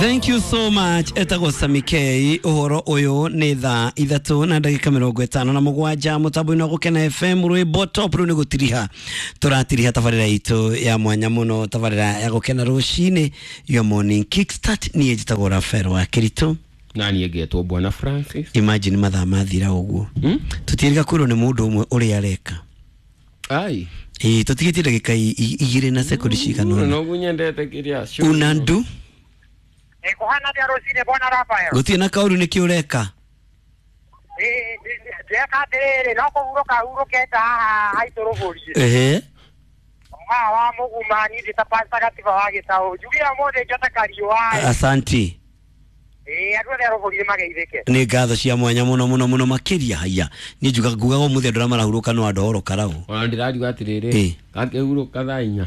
Thank you so much. Etagwo Sami K. Uhoro uyu ni thaa 3 na ndagika 57 mutambo-inĩ wa Gũkena FM rwĩmbo top rĩu nĩ gũtiriha tũratiriha tabarĩra itũ ya mwanya mũno, tabarĩra ya Gũkena rũcinĩ, your morning kickstart. Niĩ njĩtagwo Rafael wa Kĩritũ. Na niĩ ngetwo Bwana Francis. Imagine mathaa mathira ũguo. Tũtiĩrĩga kwĩrwo nĩ mũndũ ũmwe ũrĩa areka. Ai. Ĩĩ, tũtigĩtie ndagĩka 2 na sekondi cigana ũna. Noguo nyendete kĩrĩa. Unandu. Kuhana atia rũcinĩ Bwana Rafael? Gũtirĩ na kaũru, nĩkĩ ũreka? Ndĩreka atĩrĩrĩ, no kũhurũka hurũkĩte haha haitũ rũgũriĩ. Ehe. Haha wa mũguma niĩ ndĩ ta Pastor Gatiba wa Gĩtaũ. Njugire ũmũthĩ njote kariũa. Asanti. Ĩĩ, andũ othe a rũgũriĩ mageithĩke. Nĩ ngatho cia mwanya mũno mũno mũno makĩria. Haya, niĩ njuga ngugaga ũmũthĩ andũ arĩa marahurũka no andũ oro karau. Ona ndĩrariuga atĩrĩrĩ, Ĩ. gakĩhurũka thaa 4.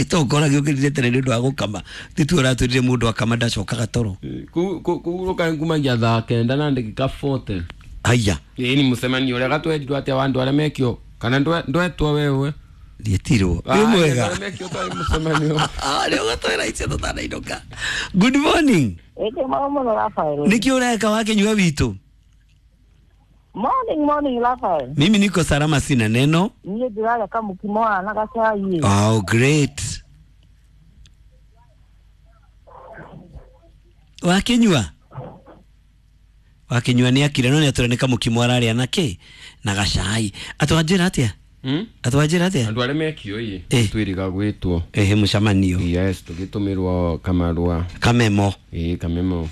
Tongora gĩũkĩrire tene nĩ ũndũ wa gũkama, tituo ũratwĩrire mũndũ akama ndacokaga toro. Kũhurũka ngumagia thaa 9 na ndagĩka 40. Haya. Ĩĩ, ni mũcemanio ũrĩa gatwerirwo atĩa wa andũ arĩa mekio kana ndwetwo wewe? Ndietirwo. Wĩ mwega. Arĩa mekio twarĩ mũcemanio. Nĩ ũgatwĩra icio tũtanainũka. Good morning. Ĩndĩ mau mũno Rafael. Nĩkĩ ũreka wakĩnyua witũ? Morning, morning Rafael. Mimi niko salama, sina neno. Niĩ ndĩrarĩa kamũkimo haha na gacai. Oh, great. Wakinyua? Wakinyua nĩ akire no nĩ atwĩra nĩ kamũkimo ararĩa na kĩ? Na gacai. Atwanjĩra atĩa? Atwanjĩra atĩa? Andũ arĩa mekio ĩ Ĩ. twĩrĩga gwĩtwo. Ehe, mũcemanio. Yes, tũgĩtũmĩrwo kamarũa. Kamemo. Ĩ, kamemo.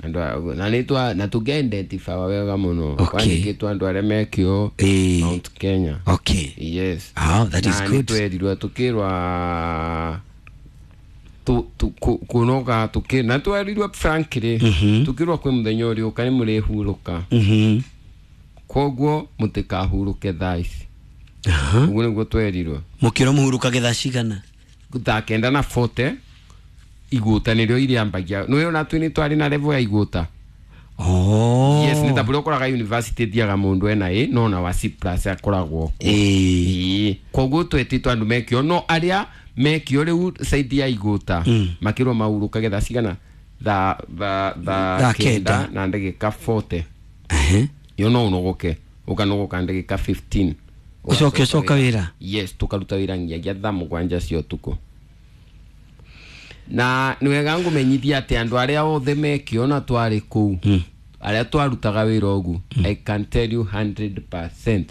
Andũ na nĩ twa na tũkĩ-identify wega mũno. Okay. Kwandĩkĩtwo andũ arĩa mekio Ĩ. Mount Kenya. Okay. Yes. Oh, that is Na good. nĩ twerirwo tukĩrwa kunoga tukĩ na twerirwo frankly tukĩrwo kwĩ mũthenya ũrĩũka nĩ mũrĩhurũka. Koguo mũtikahurũke thaa ici. Ũguo nĩguo twerirwo. Mũkĩrwo mũhurũkage thaa cigana? Thaa 9 na 40 igũta nĩrĩo irĩambagia. Nĩũĩ ona twĩ nĩ twarĩ na level ya igũta. Oh. Yes, nĩ ta bũrĩa ũkoraga university thiaga mũndũ ena A no ona wa C plus akoragwo kuo. Ĩĩ. Ĩĩ. Koguo twetĩtwo andũ mekio no arĩa mekio rĩu side ya igũta makĩrwo mahurũkage thaa cigana? Thaa Thaa thaa 9 9 na ndagĩka 40. Ehe. Yo no ũnogoke ũkanogoka ndagĩka 15. Ũcoke ũcoka wĩra? Yes, tũkaruta wĩra nginyagia thaa 7 cia ũtukũ. Na nĩ wega ngũmenyithia atĩ andũ arĩa othe mekio na twarĩ kũu arĩa twarutaga wĩra ũguo, I can tell you 100%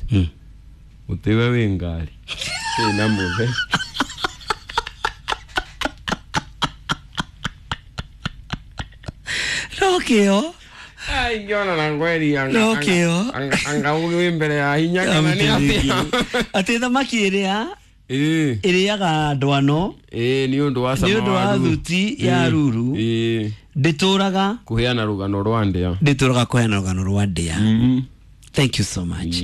ũtĩwe wĩ ngari ĩna mũthe. No kĩo. Ingĩona na ngweri No kĩo. anga ũgĩ wĩ mbere ya hinya kana nĩ atĩa? Atĩ thamaki ĩrĩa Ĩĩ. ĩrĩaga ndwano Ĩĩ, nĩ ũndũ wa cama nĩ ũndũ wa ruru. thuti ya ruru Ĩĩ. ndĩtũraga Kũheana rũgano rwa ndĩa. ndĩtũraga kũheana rũgano rwa ndĩa. Thank you so much.